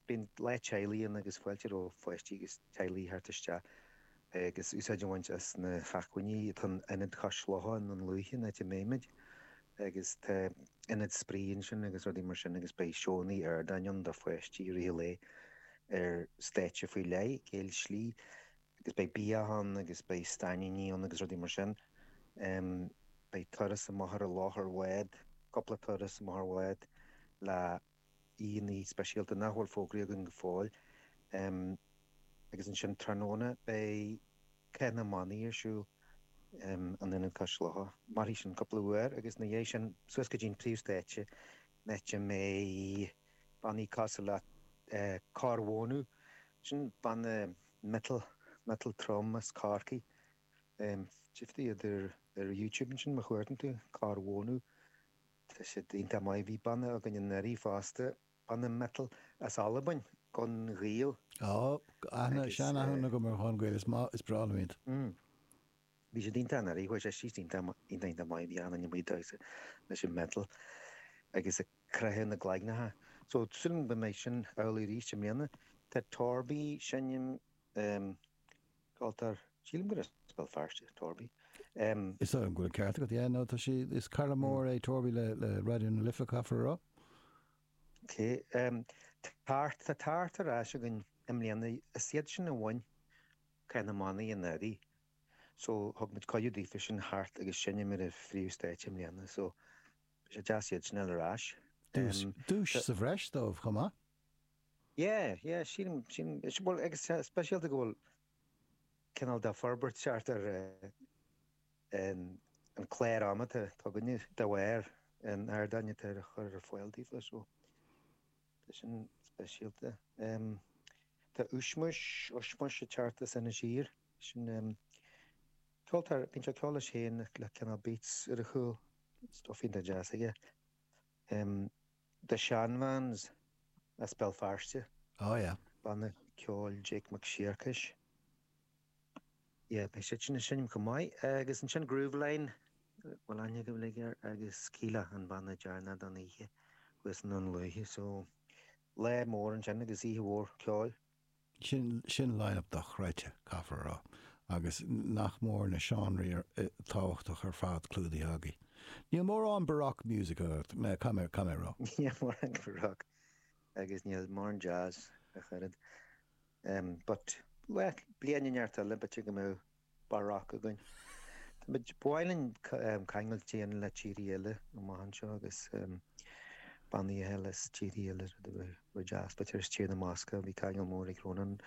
Bíonn lá teaghlaigh ann agus fáilte roimh pháistí agus teaghlaigh theacht isteach agus úsáid a bhaint as na hacmhainní atá in Ionad Chois Locha i nDún Lúiche, an áit a mbeimid, agus tá ionad spraoi ansin agus rudaí mar sin agus beidh seónna ardáin ann do pháistí i rith an lae ar stáitse faoi leith, Géill Slí, agus beidh bia ann agus beidh stainníní ann agus rudaí mar sin. Beidh turas amach ar an loch ar bhád, cúpla turas amach ar bhád le. aíonna speisialta nach bhfuil fógraithe againn go fóill. Agus ansin tráthnóna beidh Cath na mBannaí ar siúl in Ionad Cois Locha. Mairfidh sin cúpla uair agus ina dhiaidh sin suas go dtí'n príomhstáitse an áit a mbeidh bannaí cosúil le Corr Mhónadh, sin banna metal, metal trom as Corcaigh. Tchífidh tú iad ar YouTube ansin má chuardaíonn tú, Corr Mhónadh. Tá siad iontach maith. Bhí banna againn anuraidh fosta, banna metal as Albain, Gun Ghael. Á, aithne, sean-aithne agam ar Ghun Gael, is maith, is breá liom iad. Mm. Bhí siad iontach anuraidh, chuaigh sé síos iontach, iontach, iontach maith, bhí an-duine amuigh ag damhsa leis an metal agus ag croitheadh na gcloigneacha. So, súil agam go mbeidh sin amhlaidh arís i mbliana. Tá Torby ag seinm, em, Ceoltóir, sílim gur as Béal Feirste, Torby. Is dóigh liom go bhfuil an ceart agat, yeah, no, tá sé, is cara mór é Torby le, le Raidió na Life, caithfear a rá. Ok, Tart, tá Tart ar ais againn i mbliana, is iad sin a bhain Cath na mBannaí anuraidh, so thug muid cuireadh daofa sin theacht agus seinm ar an phríomhstáitse i mbliana, so beidh sé deas iad sin a fháil ar ais. Duais, duais sa bhreis dóibh chomh maith. Yeah, yeah, sílim, sílim, bhuel, agus speisialta go bhfuil cineál de forbairt thart ar an clár ama atá againne de bharr an ardáin atá á chur ar fáil daofa, so tá sin speisialta. Tá Ushmush, Ushmush ag teacht as Inis Oírr, sin ceoltóir, bíonn sé ag ceol leis féin le cineál beats ar a chúl, stuff iontach deas aige. The Shanvans as Béal Feirste. Oh yeah. Banna ceoil Jake Mac Siacais. Yeah, beidh siad sin ag seinm chomh maith. Agus ansin Grooveline, bhfuil aithne agaibh uilig air, agus Kíla, an banna deireanach don oíche thuas i nDún Lúiche. So, lá mór ansin agus oíche mhór ceoil. Sin, sin line-up dochreidte, caithfear a rá. Agus nach mór na seánraí tábhachtach ar fad clúdaithe agaibh. Níl mórán baroque music agat, caithfidh mé, caithfidh mé a rá. Níl mórán baroque agus níl mórán jazz ach oiread. But, well, bliain inteacht eile, b'fhéidir go mbeadh baroque againn. Tá muid, ba mhaith linn ceangal a dhéanamh le tíortha eile amach anseo agus bannaí eile as tíortha eile, rud a bheadh deas. B'fhéidir as Tír na mBascach, bhí ceangal mór ag Rónán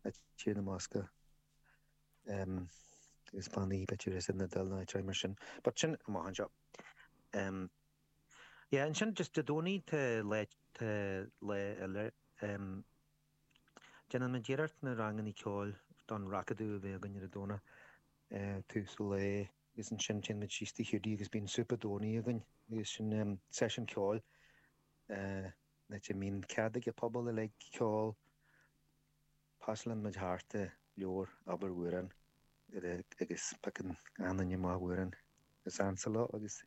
le Tír na mBascach agus bannaí b'fhéidir as an Iodáil nó áit mar sin. But sin amach anseo. Yeah, ansin just Dé Domhnaigh tá lá, tá lá eile. Déanann muid iarracht na ranganna ceoil don Racadamh a bheith againn ar an Domhnach tús an lae agus ansin téann muid síos Tigh Hiúdaí agus bíonn súp Domhnaigh againn agus sin seisiún ceoil an áit a mbíonn cead ag an pobal uilig ceol. Pasálann muid thart leabhar abair amhrán agus piocann achan duine amach amhrán is ansa leo agus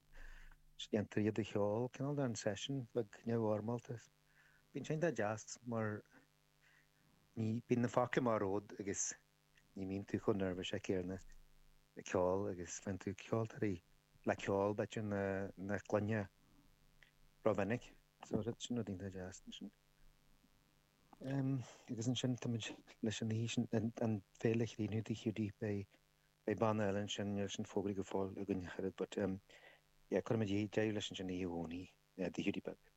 déantar iad a cheol, cineál den seisiún beag neamhfhoirmeálta. Bíonn sé iontach deas mar ní, bíonn na focla amach romhat agus ní bhíonn tú chomh neirbhíseach céanna ag ceol agus faigheann tú ceoltóirí le ceol b'fhéidir nach gcluinfeá rómhinic. So sin rud iontach deas ansin. Agus ansin táimid leis an oíche sin, an féile a chríochnú Tigh Hiúdaí, beidh, beidh banna eile ansin, níl sin fógraithe go fóill againn ach oiread but yeah cuirfimid deireadh leis ansin oíche Dhomhnaigh. Tigh Hiúdaí Beag.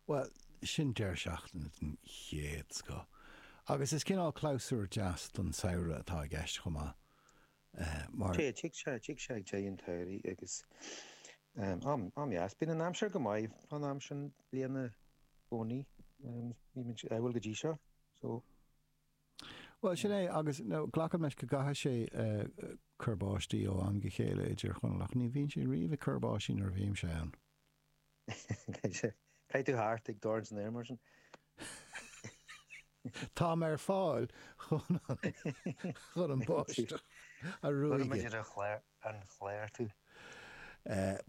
Bhuel, sin deireadh seachtaine den chéad scoth. Agus is cineál clabhsúr deas don samhradh atá i gceist chomh maith, mar. Sea, tig sé, tig sé ag deireadh an tsamhraidh agus am, am dheas. Bíonn an aimsir go maith fán am sin bliana i gcónaí. Bhí muid ádhúil go dtí seo, so. Bhuel, sin é, agus glacaim leis go gcaithfidh sé cur báistí ó am go chéile i dTír Chonaill, ach ní bhíonn sé riamh ag cur báistí nuair a bhímse ann. Caithfidh tú theacht ag dorn san aer mar sin. Táim ar fáil chun chun an báisteach a ruaigeadh. Cuirfimid ar an chlár tú.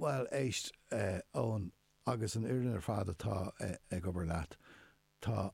Bhuel, éist, Eoin, agus an fhoireann ar fad atá ag obair leat, tá.